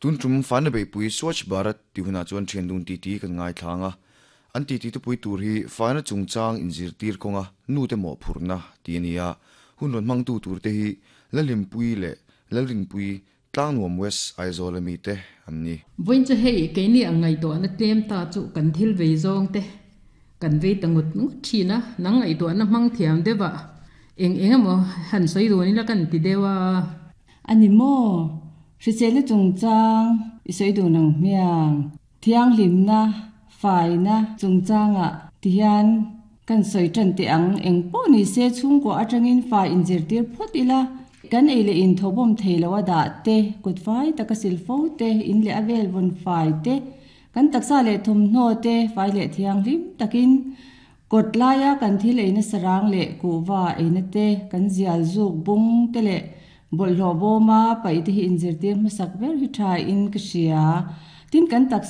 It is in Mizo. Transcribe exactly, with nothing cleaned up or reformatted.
Tun tum faina beihpui Swachh Bharat tih hunah chuan thian dun titi kan ngaithlang a. An titi tupui tur hi faina chungchang inzirtir kawnga nute mawhphurhna tih a ni a. Hun rawn hmangtu turte hi Lalhlimpui leh Lalrinpui Tlangnuam West Aizawl ami te an ni. Vawiin chu hei keini ang ngaihtuahna tlem ta chu kan thil vei zawng te kan vei ta ngut ngut thin a, nang ngaihtuahna hmang thiam deuh ah eng eng emaw han sawi dun ila kan ti deuh a. A ni maw? Hriselna chungchang i sawi dun ang hmiang. Thianghlimna, faina chungchangah tihian kan sawi tan teh ang. Eng pawh ni se chhungkua atangin fai inzirtir phawt ila, kan ei leh in thawbawm thei lo a dah te, kut fai taka sil fo te, in leh a vel vawn fai te, kan taksa leh thawmhnaw te fai leh thianghlim takin kawt laia kan thil eina sarang leh kuhva eina te, kan zial zuk bung te leh bawlhhlawh bawma paih te hi inzirtir hmasak ber hi tha in ka hria. Tin kan taksa